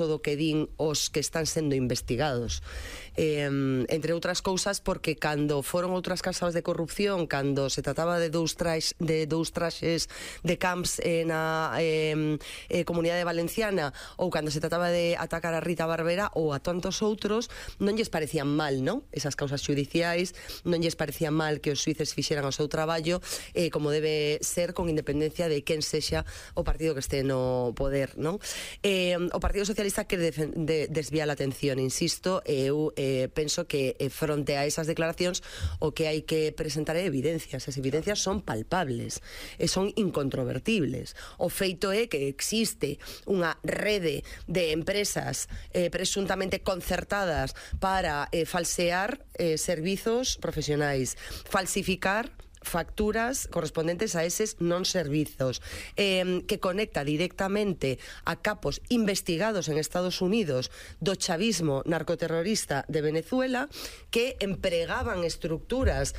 do que din os que están sendo investigados, entre outras cousas porque cando foron outras casos de corrupción, cando se trataba de dous traxes de camps na Comunidade Valenciana, ou cando se trataba de atacar a Rita Barberá ou a tantos outros, non lles parecían mal, non? Esas causas judiciais, non lles parecía mal que os xuíces fixeran o seu traballo como debe ser, con independencia de quen sexa o partido que este no poder, non? O Partido Socialista quere desviar a atención, insisto, eu penso que fronte a esas declaracións o que hai que presentar é evidencias. As evidencias son palpables e son incontrovertibles. O feito é que existe unha rede de empresas presuntamente concertadas para falsear servizos profesionais, falsificar facturas correspondentes a eses non servizos, que conecta directamente a capos investigados en Estados Unidos do chavismo narcoterrorista de Venezuela, que empregaban estructuras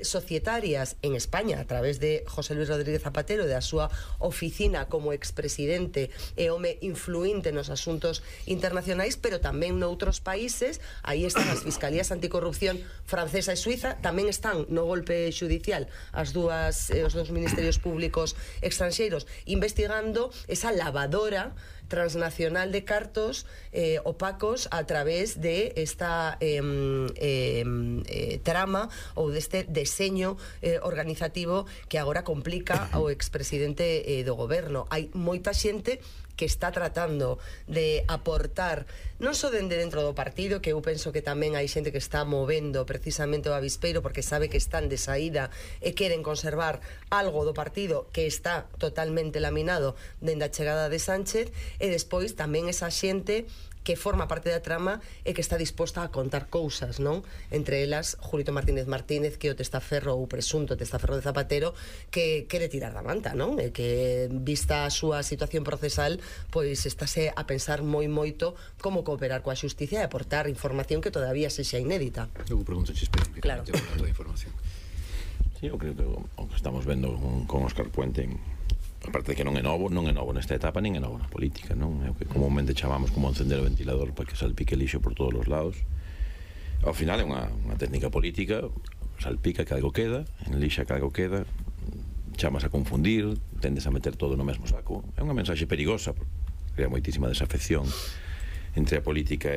societarias en España a través de José Luis Rodríguez Zapatero e da súa oficina como expresidente e home influinte nos asuntos internacionais, pero tamén noutros países. Aí están as fiscalías anticorrupción francesa e suiza, tamén están no golpe judicial os dous ministerios públicos estranxeiros investigando esa lavadora transnacional de cartos opacos a través de esta trama ou deste deseño organizativo que agora complica ao expresidente do goberno. Hai moita xente que está tratando de aportar non só dende dentro do partido, que eu penso que tamén hai xente que está movendo precisamente o avispeiro porque sabe que están de saída e queren conservar algo do partido que está totalmente laminado dende a chegada de Sánchez, e despois tamén esa xente que forma parte da trama e que está disposta a contar cousas, non? Entre elas, Julito Martínez Martínez, que é o testaferro ou presunto testaferro de Zapatero, que quere tirar da manta, non? E que, vista a súa situación procesal, pois estáse a pensar moito como cooperar coa xusticia e aportar información que todavía sexa inédita. Eu pregunto especificamente claro. toda a información. Sí, eu creo que o que estamos vendo con Óscar Puente, aparte de que non é novo nesta etapa, nin é novo na política, non? É o que comúnmente chamamos como encender o ventilador para que salpique lixo por todos os lados. Ao final é unha técnica política, salpica que algo queda, enlixa que algo queda, chamas a confundir, tendes a meter todo no mesmo saco. É unha mensaxe perigosa, porque crea moitísima desafección entre a política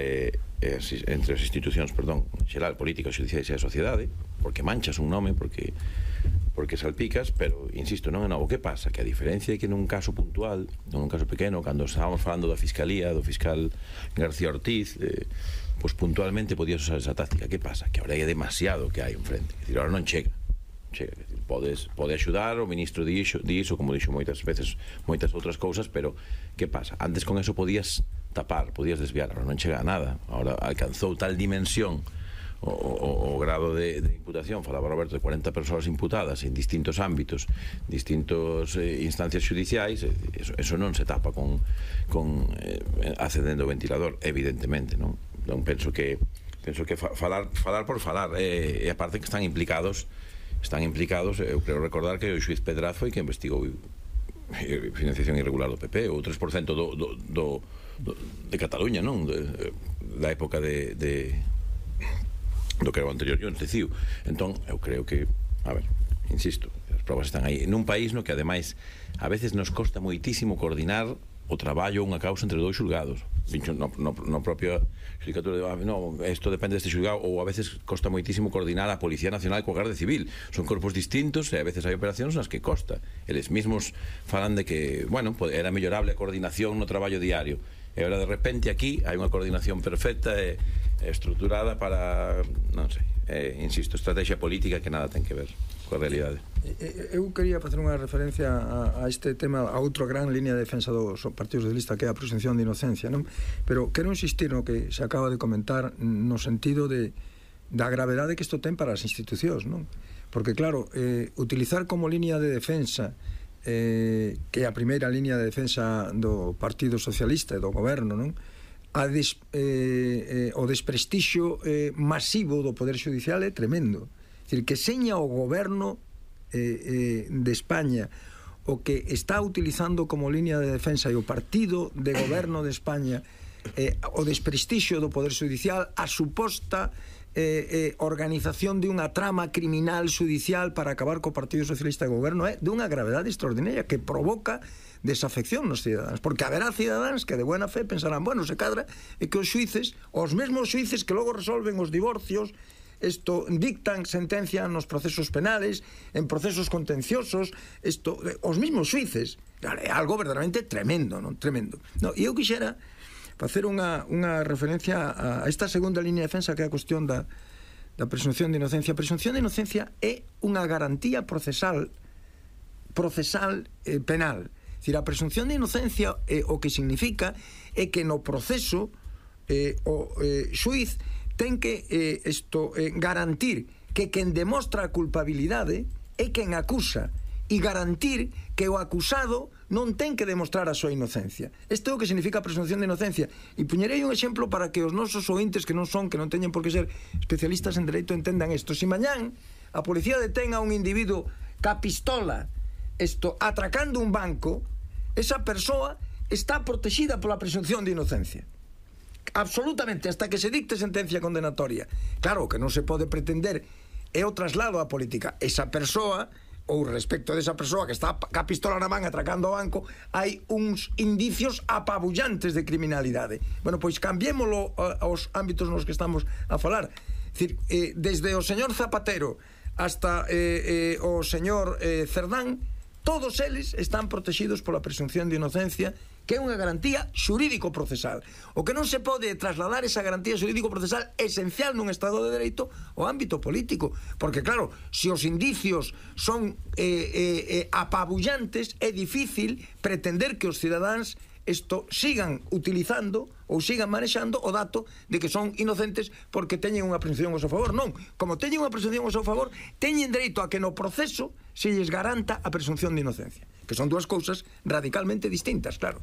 entre as institucións, en xeral, política, xudiciais e a sociedade, porque manchas un nome, porque salpicas, pero, insisto, non é novo. Que pasa? Que a diferencia é que nun caso puntual, nun caso pequeno, cando estábamos falando da Fiscalía, do fiscal García Ortiz, pois puntualmente podías usar esa táctica. Que pasa? Que agora é demasiado que hai enfrente. É dicir, agora non chega. Pode axudar, o ministro dixo, como dixo moitas veces, moitas outras cousas, pero que pasa? Antes con eso podías tapar, podías desviar, ahora non chega a nada. Ahora alcanzou tal dimensión o grado de imputación, falaba Roberto, de 40 persoas imputadas en distintos ámbitos, distintos instancias judiciais, eso non se tapa con accedendo ao ventilador, evidentemente, non? Non penso que falar por falar, e aparte que están implicados, eu creo recordar que o xuiz Pedraz foi que investigou financiación irregular do PP, o 3% de Cataluña, non? Da época do que era o anterior Jones de CIU. Entón, eu creo que, a ver, insisto, as probas están aí. Nun país no que, ademais, a veces nos costa moitísimo coordinar o traballo ou unha causa entre dous xulgados. No propio xudicatura isto depende deste xulgado, ou a veces costa moitísimo coordinar a Policía Nacional coa Garda Civil. Son corpos distintos e a veces hai operacións nas que costa. Eles mesmos falan de que, bueno, era mellorable a coordinación no traballo diario. E agora de repente aquí hai unha coordinación perfecta e estruturada para, non sei, insisto, estrategia política que nada ten que ver coa realidade. Eu quería facer unha referencia a este tema, a outra gran línea de defensa dos partidos de lista, que é a presunción de inocencia, non? Pero quero insistir no que se acaba de comentar, no sentido da gravedade que isto ten para as institucións, non? Porque claro, utilizar como línea de defensa que é a primeira línea de defensa do Partido Socialista e do goberno, non? O desprestixio masivo do Poder Judicial é tremendo. É dicir, que seña o goberno de España o que está utilizando como línea de defensa e o partido de goberno de España o desprestixio do Poder Judicial, a suposta organización de unha trama criminal judicial para acabar co Partido Socialista de Goberno é dunha gravedade extraordinaria que provoca desafección nos cidadáns, porque haberá cidadáns que de buena fe pensarán, bueno, se cadra é que os xuíces, os mesmos xuíces que logo resolven os divorcios, dictan sentencia nos procesos penales, en procesos contenciosos, os mesmos xuíces. É algo verdadeiramente tremendo, non? Tremendo. No, e eu quixera facer unha referencia a esta segunda línea de defensa, que é a cuestión da presunción de inocencia. A presunción de inocencia é unha garantía procesal penal. É dicir, a presunción de inocencia o que significa é que no proceso o xuiz ten que garantir que quen demostra a culpabilidade é quen acusa, e garantir que o acusado non ten que demostrar a súa inocencia. Isto é o que significa a presunción de inocencia. E puñerei un exemplo para que os nosos ointes que non teñen por que ser especialistas en dereito entendan isto. Se mañán a policía detén a un individuo ca pistola atracando un banco, esa persoa está protexida pola presunción de inocencia. Absolutamente, hasta que se dicte sentencia condenatoria. Claro, que non se pode pretender é o traslado á política. Esa persoa, ou respecto desa persoa que está ca pistola na man atracando o banco, hai uns indicios apabullantes de criminalidade. Bueno, pois cambiémolo aos ámbitos nos que estamos a falar. Decir, desde o señor Zapatero hasta o señor Cerdán, todos eles están protegidos pola presunción de inocencia, que é unha garantía xurídico-procesal. O que non se pode trasladar esa garantía xurídico-procesal esencial nun Estado de Dereito ao ámbito político, porque claro, se os indicios son apabullantes, é difícil pretender que os cidadáns sigan utilizando ou sigan manexando o dato de que son inocentes porque teñen unha presunción ao seu favor. Non, como teñen unha presunción ao seu favor, teñen dereito a que no proceso se lles garanta a presunción de inocencia, que son dúas cousas radicalmente distintas, claro.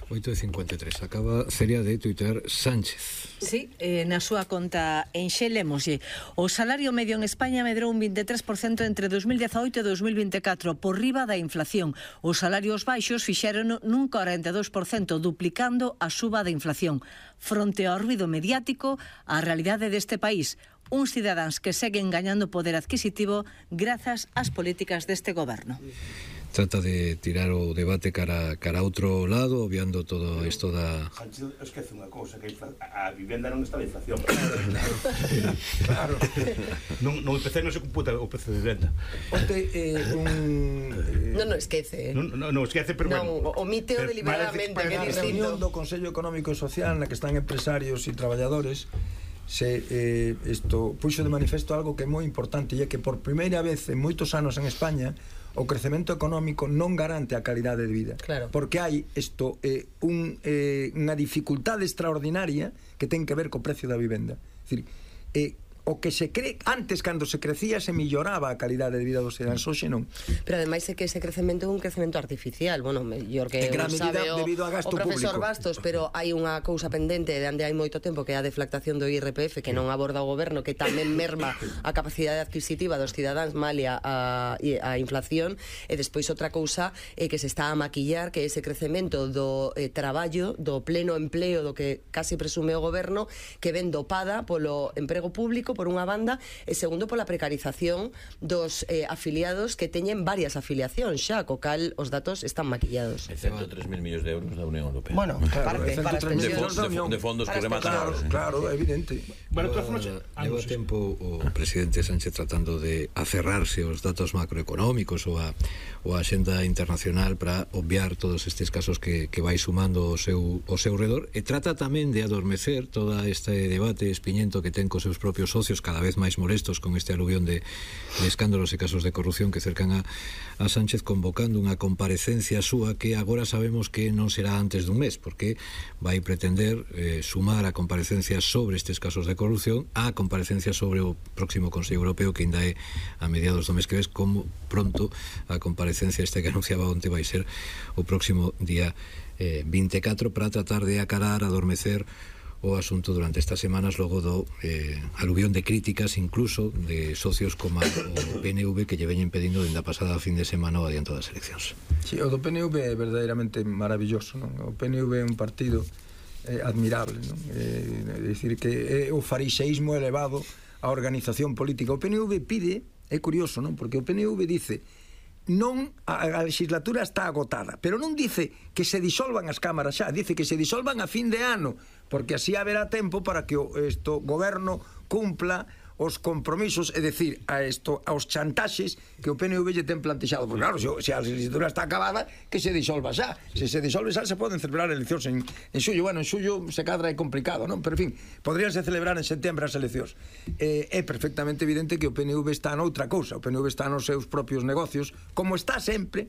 8:53, acaba Celia de tuitar Sánchez. Sí, na súa conta enxelémoslle. O salario medio en España medrou un 23% entre 2018 e 2024, por riba da inflación. Os salarios baixos fixeron nun 42%, duplicando a suba da inflación. Fronte ao ruido mediático, a realidade deste país, uns cidadáns que seguen gañando poder adquisitivo grazas ás políticas deste goberno. Trata de tirar o debate cara a outro lado, obviando todo isto da... Sánchez esquece unha cousa, que a vivenda non está de inflación. Claro. No IPC non se computa o prezo de vivenda. Onte Non esquece. Non esquece, pero bueno. Omite o deliberadamente, que é distinto. Na reunión do Consello Económico e Social na que están empresarios e traballadores, puxo de manifesto algo que é moi importante, e é que por primeira vez en moitos anos en España o crecemento económico non garante a calidade de vida. Claro. Porque hai unha dificultade extraordinaria que ten que ver co precio da vivenda. É dicir, o que se cree antes, cando se crecía, se milloraba a calidade de vida dos cidadáns, hoxe non. Pero ademais é que ese crecemento é un crecemento artificial, bueno, mellor que sabe debido a gasto o profesor público. Bastos, pero hai unha cousa pendente de onde hai moito tempo, que é a deflactación do IRPF, que non aborda o goberno, que tamén merma a capacidade adquisitiva dos cidadáns, malia a inflación, e despois outra cousa que se está a maquillar, que é ese crecemento do traballo, do pleno empleo, do que casi presume o goberno, que ven dopada polo emprego público, por unha banda, e segundo pola precarización dos afiliados que teñen varias afiliacións xa, co cal os datos están maquillados. E 103.000 millóns de euros da Unión Europea. Bueno, claro, para as pensións de fondos que rematan. Claro, evidente. Bueno, leva tempo o presidente Sánchez tratando de aferrarse aos datos macroeconómicos ou a xenda internacional para obviar todos estes casos que vai sumando ao seu redor, e trata tamén de adormecer todo este debate espiñento que ten cos seus propios socios cada vez máis molestos con este aluvión de escándalos e casos de corrupción que cercan a Sánchez, convocando unha comparecencia súa que agora sabemos que non será antes dun mes, porque vai pretender sumar a comparecencia sobre estes casos de corrupción á comparecencia sobre o próximo Consello Europeo, que ainda é a mediados do mes que ves, como pronto a comparecencia que anunciaba onte vai ser o próximo día 24, para tratar de acarar, adormecer o asunto durante estas semanas, logo do aluvión de críticas, incluso de socios como o PNV, que lle veñen pedindo dende a pasada fin de semana o adianto das eleccións. Sí, o do PNV é verdadeiramente maravilloso, non? O PNV é un partido admirable, non? É dicir que é o farixeísmo elevado a organización política. O PNV pide, é curioso, non? Porque o PNV dice non, a legislatura está agotada, pero non dice que se disolvan as cámaras xa, dice que se disolvan a fin de ano, porque así haberá tempo para que o goberno cumpla os compromisos, é dicir, aos chantaxes que o PNV lle ten plantexado. Porque claro, se a legislatura está acabada, que se disolva xa. Se se disolve xa, se poden celebrar eleccións en xullo. Bueno, en xullo se cadra é complicado, non? Pero, en fin, podríanse celebrar en setembro as eleccións. É perfectamente evidente que o PNV está noutra cousa. O PNV está nos seus propios negocios, como está sempre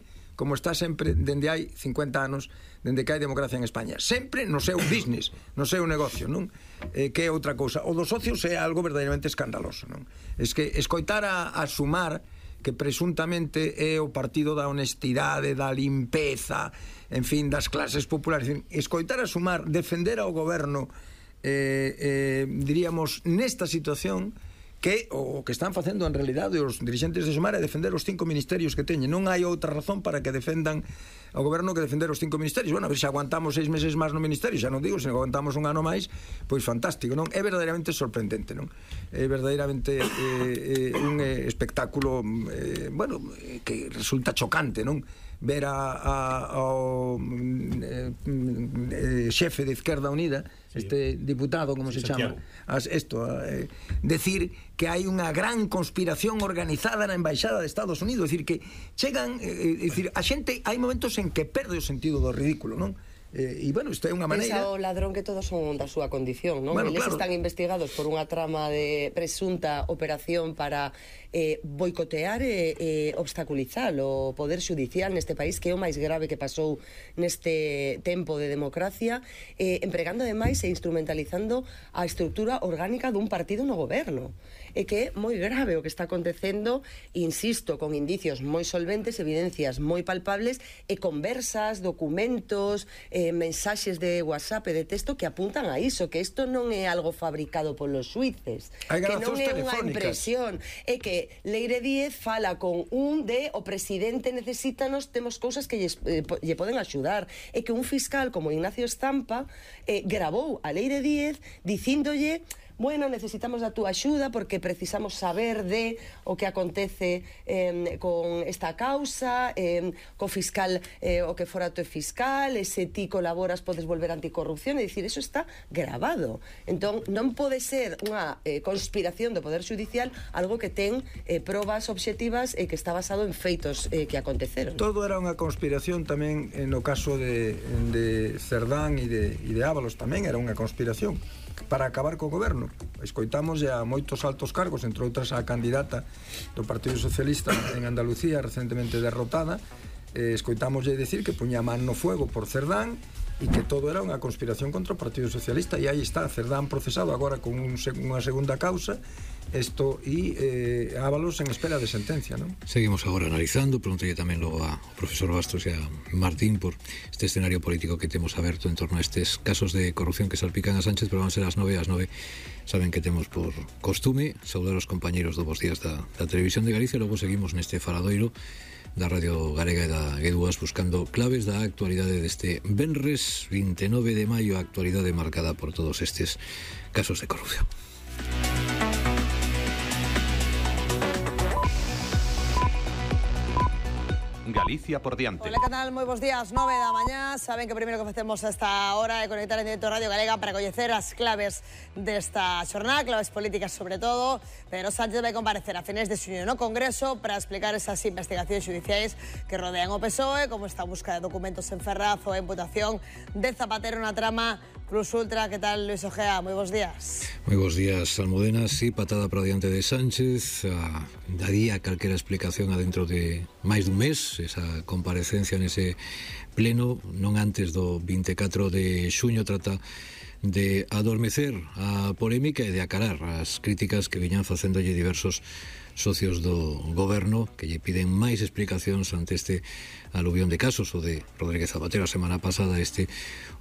dende hai 50 anos, dende que hai democracia en España, sempre no seu business, no seu negocio, non? Que é outra cousa. O dos socios é algo verdadeiramente escandaloso, non? Es que escoitar a Sumar, que presuntamente é o partido da honestidade, da limpeza, en fin, das clases populares, escoitar a Sumar defender ao goberno, diríamos, nesta situación, que o que están facendo en realidade os dirigentes de Sumar é defender os 5 ministerios que teñen. Non hai outra razón para que defendan o goberno que defender os 5 ministerios. Bueno, a ver se aguantamos 6 meses máis no ministerio, xa non digo, se aguantamos un ano máis, pois fantástico, non? É verdadeiramente sorprendente, non? É verdadeiramente un espectáculo, bueno, que resulta chocante, non? Ver ao xefe de Izquierda Unida, este diputado, como se chama, decir que hai unha gran conspiración organizada na Embaixada de Estados Unidos, decir que chegan, decir, a xente hai momentos en que perde o sentido do ridículo, non? E, bueno, isto é unha maneira... Pensa o ladrón que todos son da súa condición, non? Bueno, Eles claro, están investigados por unha trama de presunta operación para boicotear e obstaculizar o poder xudicial neste país, que é o máis grave que pasou neste tempo de democracia, empregando ademais e instrumentalizando a estrutura orgánica dun partido no goberno. E que é moi grave o que está acontecendo, insisto, con indicios moi solventes, evidencias moi palpables e conversas, documentos, mensaxes de WhatsApp e de texto que apuntan a iso, que isto non é algo fabricado polos xuíces, que non é unha impresión, é que Leire Díez fala con un de o presidente necesítanos, temos cousas que lle poden axudar, é que un fiscal como Ignacio Estampa gravou a Leire Díez dicíndolle: bueno, necesitamos da túa axuda porque precisamos saber de o que acontece con esta causa, co fiscal, o que fora teu fiscal, e se ti colaboras podes volver a anticorrupción, é dicir, eso está grabado. Entón, non pode ser unha conspiración do Poder Judicial algo que ten probas obxectivas e que está basado en feitos que aconteceron. Todo era unha conspiración tamén no caso de Cerdán e de Ábalos, tamén era unha conspiración para acabar co goberno. Escoitamos a moitos altos cargos, entre outras a candidata do Partido Socialista en Andalucía recentemente derrotada, escoitámoslle decir que puña man no fuego por Cerdán e que todo era unha conspiración contra o Partido Socialista, e aí está Cerdán procesado agora con unha segunda causa, isto e Ábalos en espera de sentencia, non? Seguimos agora analizando, pregúntalle tamén logo ao profesor Bastos e a Martín por este escenario político que temos aberto en torno a estes casos de corrupción que salpican a Sánchez, pero van a ser as 9. Saben que temos por costume saudar os compañeros do Bos Días da Televisión de Galicia, e logo seguimos neste faladoiro da Radio Galega e da G2 buscando claves da actualidade deste venres 29 de maio, a actualidade marcada por todos estes casos de corrupción. Galicia por diante. Hola, ¿qué tal? Moi bons días, 9 da mañá. Saben que o primeiro que facemos a esta hora é conectar en directo Radio Galega para coñecer as claves desta xornada, claves políticas sobre todo. Pedro Sánchez vai comparecer a finais de xuño no Congreso para explicar esas investigacións judiciais que rodean o PSOE, como está a busca de documentos en Ferraz ou a imputación de Zapatero na trama Plus Ultra. ¿Qué tal, Luis Ojea? Moi bons días. Moi bons días, Almudena. Sí, patada para diante de Sánchez. Daría calquera explicación adentro de máis dun mes, esa comparecencia nese pleno, non antes do 24 de xuño. Trata de adormecer a polémica e de acarar as críticas que viñan facéndolle diversos socios do goberno que lle piden máis explicacións ante este aluvión de casos, o de Rodríguez Zapatero a semana pasada,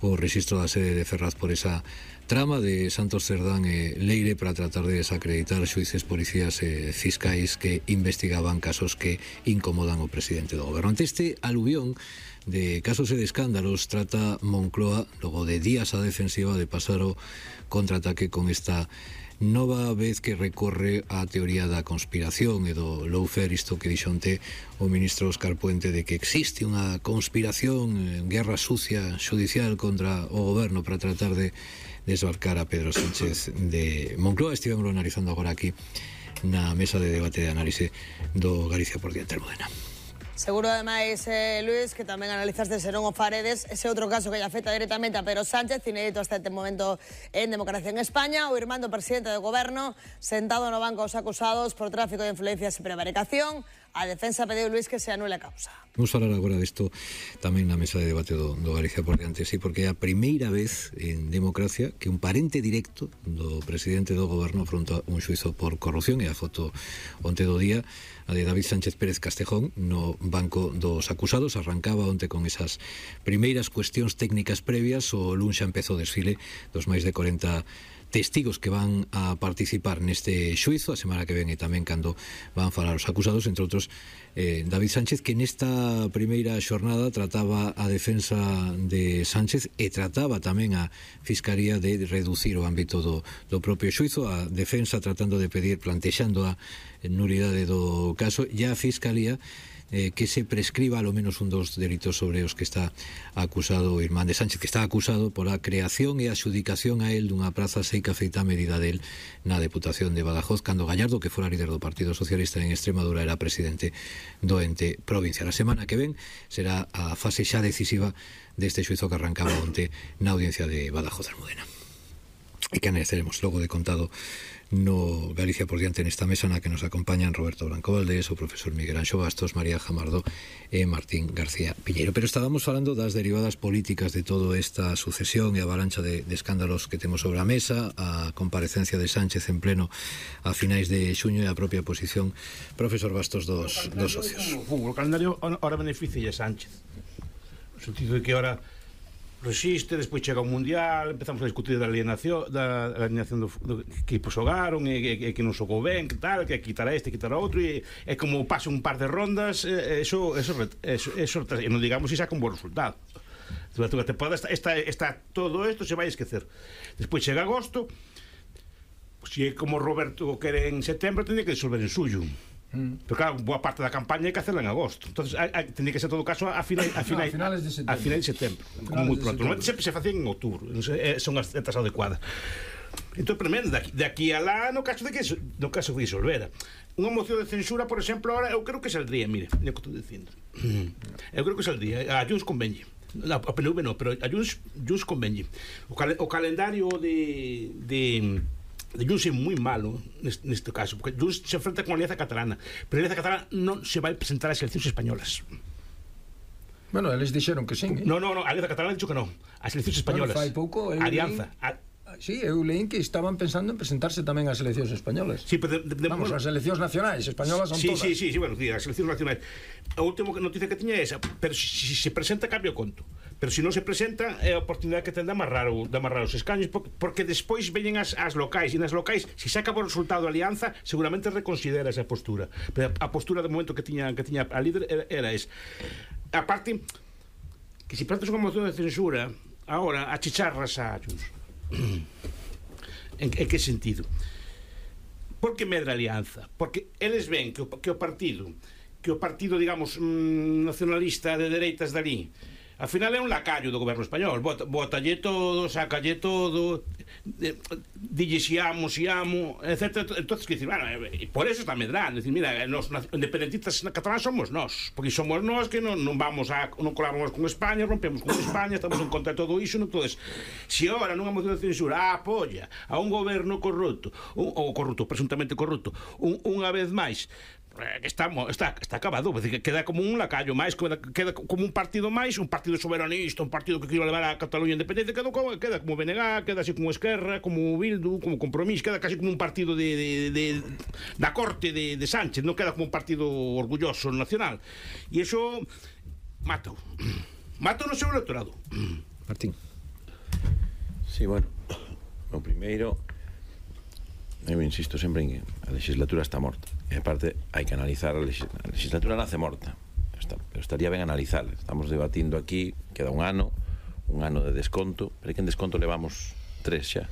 o rexistro da sede de Ferraz por esa trama de Santos Cerdán e Leire para tratar de desacreditar xuíces, policías e fiscais que investigaban casos que incomodan o presidente do goberno. Ante este aluvión de casos e de escándalos, trata Moncloa, logo de días a defensiva, de pasar o contraataque con esta nova vez que recorre a teoría da conspiración e do lawfare, isto que dixo onte o ministro Óscar Puente, de que existe unha conspiración, guerra sucia judicial contra o goberno para tratar de desbarcar a Pedro Sánchez de Moncloa. Estivemos analizando agora aquí na mesa de debate de análise do Galicia por Diante, Almudena. Seguro, ademais, Luis, que tamén analizaste se non o faredes ese outro caso que lle afecta directamente a Pedro Sánchez, inédito hasta este momento en Democracia en España, o irmán do presidente do goberno sentado no banco dos acusados por tráfico de influencias e prevaricación. A defensa pediu, Luis, que se anule a causa. Vamos a falar agora disto tamén na mesa de debate do Galicia por Diante, sí, porque é a primeira vez en Democracia que un parente directo do presidente do goberno afronta un xuizo por corrupción, e a foto onte do día, a de David Sánchez Pérez Castejón, no banco dos acusados. Arrancaba onte con esas primeiras cuestións técnicas previas. O luns xa empezou o desfile dos máis de 40 testigos que van a participar neste xuizo. A semana que ven e tamén cando van falar os acusados, entre outros David Sánchez, que nesta primeira xornada trataba a defensa de Sánchez e trataba tamén a Fiscalía de reducir o ámbito do propio xuizo, a defensa tratando de pedir, plantexando a nulidade do caso, e a Fiscalía que se prescriba ao menos un dos delitos sobre os que está acusado o irmán de Sánchez, que está acusado por a creación e a adxudicación a él dunha praza seica feita a medida del na Deputación de Badajoz, cando Gallardo, que fora líder do Partido Socialista en Extremadura, era presidente do ente provincial. A semana que ven será a fase xa decisiva deste xuizo que arrancaba onte na audiencia de Badajoz, Almudena, e que analizaremos logo de contado no Galicia por Diante, nesta mesa na que nos acompañan Roberto Blanco Valdés, o profesor Miguel Anxo Bastos, María Jamardo e Martín García Piñeiro. Pero estábamos falando das derivadas políticas de toda esta sucesión e avalancha de escándalos que temos sobre a mesa, a comparecencia de Sánchez en pleno a finais de xuño e a propia posición, profesor Bastos, dos socios. O calendario ahora beneficia a Sánchez, no sentido de que ahora resiste, despois chega o Mundial, empezamos a discutir da alineación do que xogaron e que non xogou ben, que tal, que quitar a este, quitar a outro, e como pasa un par de rondas, eso e non digamos se saca un bon resultado. Durante a temporada está todo isto se vai esquecer. Despois chega agosto, se é como Roberto quere en setembro, tendría que disolver en suyo. Pero claro, boa parte da campaña hai que hacerla en agosto. Entonces tendría que ser todo caso a finais de setembro. Como moi pronto. Normalmente sempre se facían en outubro. Son as datas adecuadas. Entón, tremendo, de aquí a lá, no caso de que disolvera. Unha moción de censura, por exemplo, ahora eu creo que saldría, mire, o que estou dicindo. Eu creo que saldría. A Junts convenlle. A PNV non, pero a Junts convenlle. O calendario de Junts é moi malo neste caso, porque Junts se enfrenta con a Alianza Catalana, pero a Alianza Catalana non se vai presentar ás eleccións españolas. Bueno, eles dixeron que sí. No, a Alianza Catalana dixo que non, as eleccións españolas. Fai pouco, Alianza. Sí, eu leín que estaban pensando en presentarse tamén ás eleccións españolas. Sí, pero vamos, as eleccións nacionais españolas son todas. Sí, bueno, as eleccións nacionais. A última noticia que tiña é esa, pero se se presenta cambia o conto. Pero se non se presenta é a oportunidade que ten de amarrar os escaños, porque despois veñen as locais, e nas locais, se saca por resultado a Alianza, seguramente reconsidera esa postura. Pero a postura de momento que tiña a líder era esa. A parte que se plantas unha moción de censura agora a chicharras a Junts. En que sentido? Porque medra a Alianza, porque eles ven que o partido, digamos, nacionalista de dereitas dali, al final é un lacayo do goberno español. Botalle todo, sacalle todo, dille si amo, etc. Entonces, que dicir, bueno, por eso está medrando. Decir, mira, os independentistas catalán somos nós, porque somos nós que non colaboramos con España, rompemos con España, estamos en contra de todo iso. Entonces, se ahora nunha moción de censura apoia a un goberno corrupto, ou presuntamente corrupto, unha vez máis, está acabado, queda como un lacayo máis, queda como un partido máis, un partido soberanista, un partido que quería levar a Cataluña a independencia, queda como BNG, queda así como Esquerra, como Bildu, como Compromís, queda casi como un partido da corte de Sánchez, non queda como un partido orgulloso nacional, e iso mata no seu electorado. Martín. Sí, bueno, o primeiro, eu insisto sempre en que a legislatura está morta, e aparte hai que analizar a legislatura nace morta, pero estaría ben analizar. Estamos debatindo aquí, queda un ano de desconto, pero que en desconto levamos 3 xa.